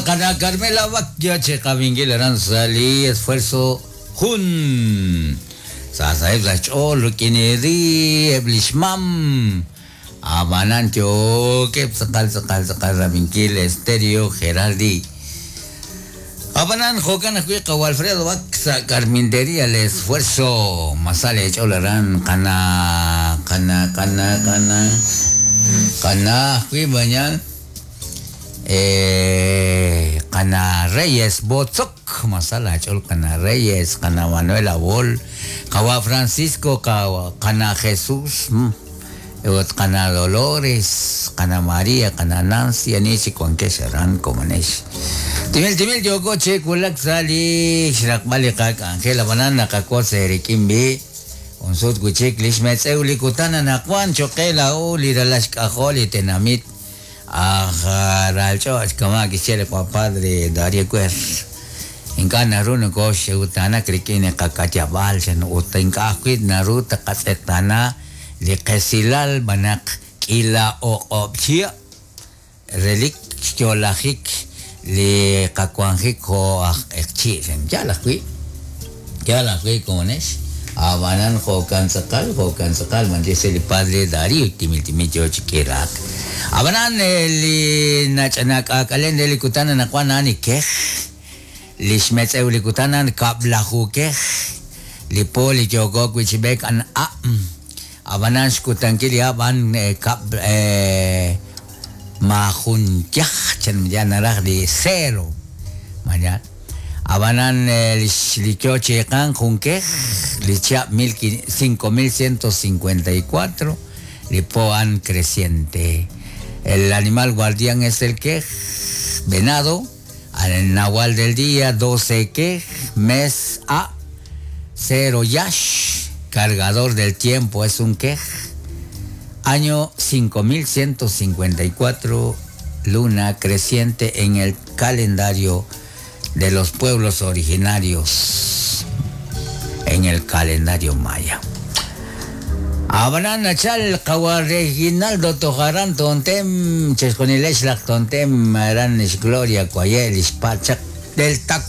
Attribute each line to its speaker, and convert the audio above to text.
Speaker 1: Qana Carmela Bac yo chi qab'inkil aran sa' li esfuerzo jun. Sa saheb' sa' xch'ool rik'in eri eb' li xmam. Ab'anan yookeb' tz'aqal tz'aqal tz'aqal rab'inkil Estéreo Geraldi. Ab'anan jo'kan ajwi' qawa' Alfredo Bac sa' Carpintería el esfuerzo. Ma sa leech'ool aran qana qana qana qana qana ajwi' mañana. Qana Reyes Botzok, ma sa laach'ool Qana Reyes, Qana Manuel Abol, Qawa' Francisco, Qana Jesús, ut Qana Dolores, Qana María, Qana Nancy, ani chik wankex aran komonex. Timil timil yooko chi wulak sa' li xraqb'al li qak'anjel, ab'anan naqawotz eerik'in b'i' jun sut wi' chik li xmetz'ew li kutan anaqwan cho'q qe laa'o li ralal xk'ajol li tenamit Aj ralch'och' kama' kixye li qaPadre Dario Cuer, ink'a' naru nokooxxewtaanak rik'in li qaka'yab'aal chan ut ink'a' ajwi' naru taqatz'eqtaana li qesilal b'an naq k'iila o'q'ob' chihab' relik xyo'lajik li qawanjik jo' aj q'eqchi' chan. Yaal ajwi', yaal ajwi' komonex, a'b'anan jo'kan tz'aqal, jo'kan tz'aqal, manchester li Padre Dario timil timil yoo chi k'iraak. A'b'anan li nach'anak'aak'alen re li kutan anaqwan a'an li kej, li xmetz'ew li kutan a'an kab'laju kej, li po li yooko wi' chi b'eek a'an hab', a'b'anan xkutankil li hab' a'an kab' maajun yaj, chan ya naraj li cero, mañana. Ab'anan li yo chi iiqank jun kej, li chihab' 5154, li po a'an creciente. El animal guardián es el kej, venado, al nahual del día 12 kej, mes A, cero yash, cargador del tiempo es un kej, año 5154, luna creciente en el calendario de los pueblos originarios, en el calendario maya. Ab'anan nachal qawa' Reginaldo Tojaran Tontem, chixjunilex laj Tontem aran lix Gloria Cuaye' lix pachaq del.